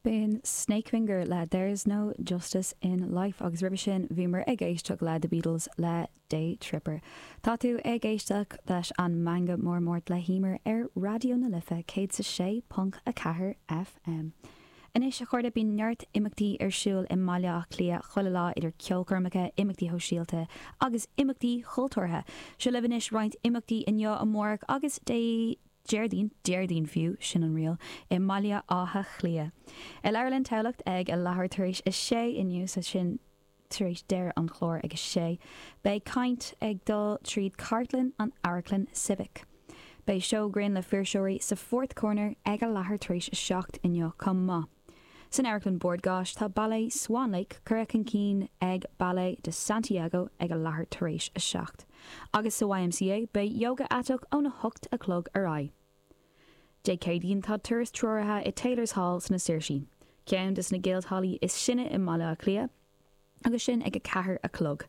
B'in Snakefinger le There's No Justice in Life agus roimhe sin bhíomar ag éisteacht le The Beatles le Day Tripper. Tá tú ag éisteacht leis an Meangadh Mór Máirt le hEmer ar Raidió na Life 106.4 FM. Anois, a chairde, bíonn neart imeachtaí ar siúl i mBaile Átha Cliath chuile lá idir ceolchoirmeacha, imeachtaí shóisialta agus imeachtaí chultúrtha. Seo libh anois roinnt imeachtaí inniu, amárach agus Dé Déardaoin, Déardaoin fiú, sin an riail, i mBaile Átha Cliath. I Leabharlann Tamhlacht ag a leathuair tar éis a sé inniu, so sin tar éis deireadh an chláir ag a sé, beidh caint ag dul tríd cartlann an Amharclann Civic. Beidh seó grinn le fuirseoirí sa Fourth Corner ag a leathuair tar éis a 7 inniu chomh maith. San Amharclann Bord Gáis tá Ballet Swan Lake curtha chun cinn ag Ballet de Santiago ag a leathuair tar éis a 7. Agus sa YMCA beidh Yoga Aiteach óna hocht a chlog ar aghaidh. Dé Céadaoin tá turas treoraithe i Taylor's Hall sna Saoirsí, ceann de sna guildhallaí is sine i mBaile Átha Cliath, agus sin ag 4 a chlog.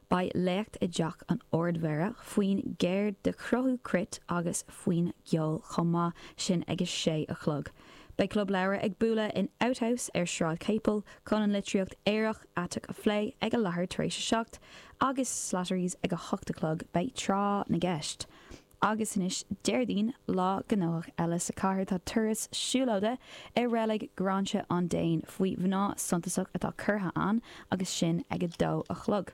Beidh léacht i dTeach an Ard-Mhéara faoin gceird de chruthú cruit agus faoin gceol chomh maith, sin ag 6 a chlog. Beidh Club Leabhar ag bualadh in Outhouse ar Sráid Chapel chun an litríocht aorach aiteach a phlé ag a leathuair tar éis a 7 agus Slattery's ag 8 a chlog beidh Tráth na gCeist. Agus anois Déardaoin, lá gnóthach eile sa chathair, tá turas siúlóide i reilig Ghráinse an Déin faoi mhná suntasach atá curtha ann agus sin ag a dó a chlog.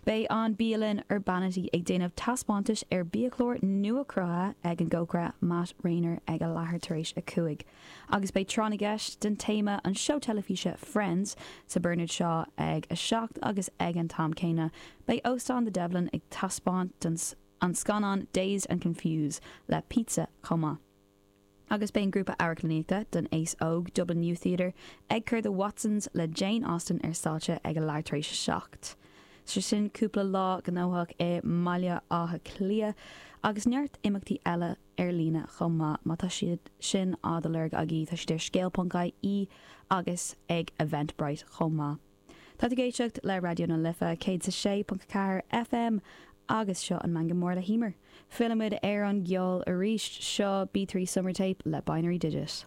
Beidh an bialann Urbanity ag déanamh taispeántais ar biachlár nua-cruthaithe ag an gcócaire Matt Rayner ag a leathuair tar éis a 5. Agus beidh Tráth na gCeist den téama an seó teilifíse Friends sa Bernard Shaw ag a 7 agus ag an t-am céanna beidh Óstán The Devlin ag taispeáint don an scannán Dazed and Confused le pizza chomh maith. Agus beidh an grúpa amharclannaíochta don aos óg, Dublin Youth Theatre, ag cur The Watsons le Jane Austen ar stáitse ag a leathuair tar éis a 7. So sin cúpla lá gnóthach i mBaile Átha Cliath agus neart imeachtaí eile ar líne chomh maith má tá siad sin á do lorg agaibh, tá siad ar scéal.ie agus ag Eventbrite chomh maith. Tá tú ag éisteacht le Raidió na Life 106.4 FM agus seo an Meangadh Mór le hEmer. Fillfimid ar an gceol arís. Seo B3 Summer Tape le Binary Digit.